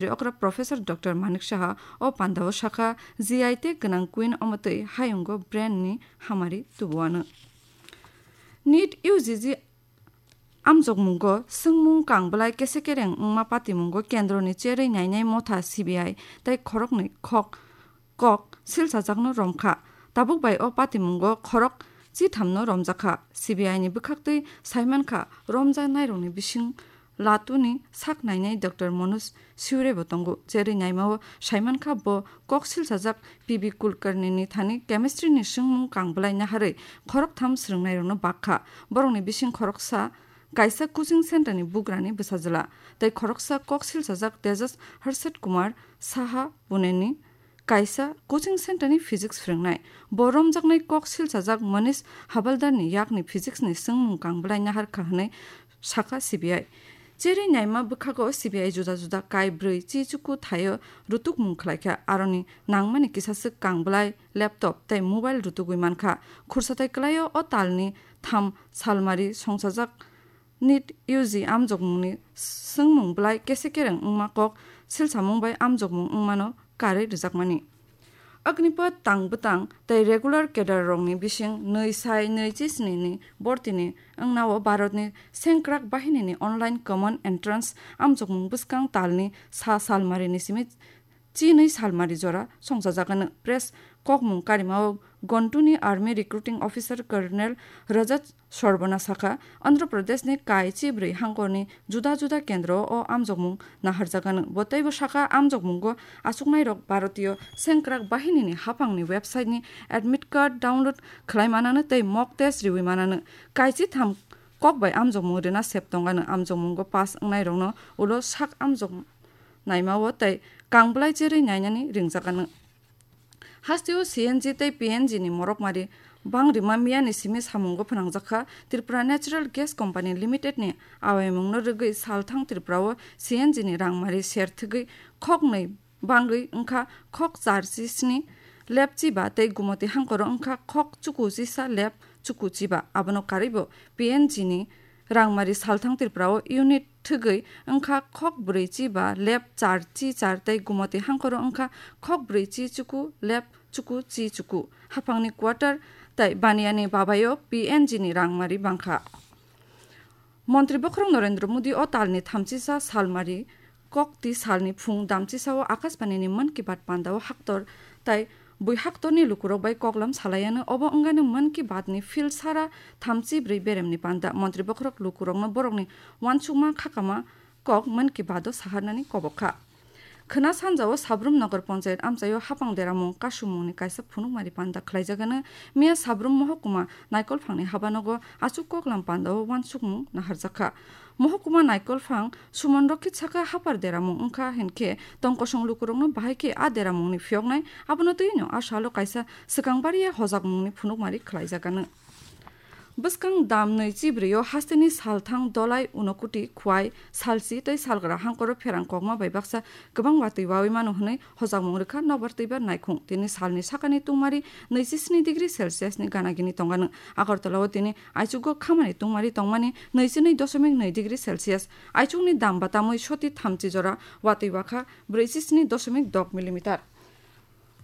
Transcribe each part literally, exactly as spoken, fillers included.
Okra Professor Doctor Manik Saha o pandao sakha, G I tag gwnang queen omotwi hayungo brand ni hamari tubuano. NEET U G G amjokmungo swngmung kang bwlai kese kereng wngma patimungo kendroni cherwi nainai motha C B I tei khoroknwi khok kok silsajakno romkha. Tabuk bai o patimungo khorok chithamno romjakha. C B I ni bwkhaktwi saimankha, romjaknairokni bising Latuni sak nainai Doctor Manoj Siure bo tongo. Cherwi naimao saimankha, bo kok silsajak P B Kulkarni ni thani chemistry ni swngmung kang bwlai naharwi khoroktham swrwngnairokno bakha. Borokni bising khoroksa kaisa coaching center ni bugrani bwsajwla tei khoroksa kok silsajak Tejas Harshad Kumar Saha Pune ni kaisa coaching center ni physics phwrwngnai. Bo romjaknai kok silsajak Manish Havaldar ni yakni physics ni swngmung kang bwlai naharkha hwnwi sakha C B I. Cherwi naima bwkhago C B I juda juda kai bwrwi chi chuku thaio rutukmung khlaikha. Aroni nangmani kisaswk kang bwlai laptop tei mobile rutugwi mankha. Khursa tei kwlaio o talni tham salmari songsajak NEET U G amjokmungni swngmung bwlai kese kereng wngma kok silsamung bai amjokmung wngmano karwi rwjakmani. Agnipath tang bwtang tei regular cadre rokni bising nwi sai nwi chi sni ni bortini wngnao Bharatni sengkrak bahinini online common entrance amjokmung bwskang talni sa salmarini simi chinwi salmari jora songchajakano. Press kokmung karimao Guntuni Army Recruiting Officer Colonel Rajat Sarbana sakha, Andhra Pradeshni kai chibrwi hangkorni juda juda kendro o amjokmung naharjakano. Bo teibo sakha, amjokmungo achuknairok Bharatiyo Sengkrak Bahinini haphangni website-ni admit card download khlai manano tei mock test riwi manano. Kai chitham kok bai amjokmung rwna sep tongano. Amjokmungo pass wngnairokno ulo sak amjok naimao tei kang bwlai cherwi nainani ringjak ano. Hasteo C N G tei P N G ni morokmari bang rima miyani simi samungo phwnangjakha. Tripura Natural Gas Company Limited ni awaimungno rwgwi salthang Tripura o C N G ni rangmari ser thwgwi khoknwi bangwi wngkha khok char chi sni lab chi ba tei gumoti hangkoro wngkha khok chuku chisa lab chuku chi ba. Abono karwibo P N G ni rangmari salthang Tripura o unit thwgwi wngkha khok brwi chi ba lab char chi char tei gumoti hangkoro wngkha khok brwi chi chuku lab chuku chi chuku. Haphangni quarter tei baniani babaio P N G ni rangmari bangkha. Montri bokhorok Narendra Modi o talni thamchisa salmari kokti salni phung damchisao Akashbani ni Mann Ki Baat pandao haktor tai bui haktorni lukurok bai koklam salaiano. Obo wngano Mann Ki Baat ni field sara thamchi brwi beremni panda. Montri bokhorok lukurokno borokni uansukma khakama kok Mann Ki Baat o saharnani kobok kha. Khwna sanjao Sabrum Nagar Panchayat amchaio hapang deramung kasumungni kaisa phunukmari panda khlaijagano. Miya Sabrum Mohokuma Naikolphangni habanogo achuk koklam pandao uansukmung naharjakha. Mohokuma Naikolphang Suman Rokit sakha, hapar deramung wngkha hinkhe tongkosong lukurokno bahai khe a deramungni phiyoknai. Abono twino a salo kaisa swkang bariya hojakmungni phunukmari khlaijagano. Bwskang dam nwi chibrwi o hasteni salthang Dolai, Unokuti, Khwai, Salchi tei Salgra hangkoro pherang kokma bai baksa kwbang watwi wawi mano hwnwi hojakmung rwkha nokbar twibar naikhung. Tini salni sakani tungmari nwi chi sni degree Celsius ni gana gini tongano. Agartala o tini aichugo khamani tungmari tongmani nwi chi nwi doshomik nwi degree Celsius. Aichukni dam ba tamwi soti thamchi jora watwi wakha brwi chi sni doshomik dok millimeter.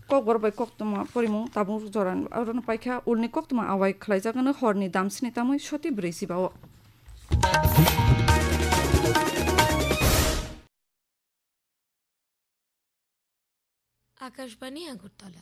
Kokborok bai koktwma porimung tabuk jora orono paikha. Ulni koktwma awai khlaijagano horni damsini tamwi soti brwi chiba-o. Akashbani Agartala.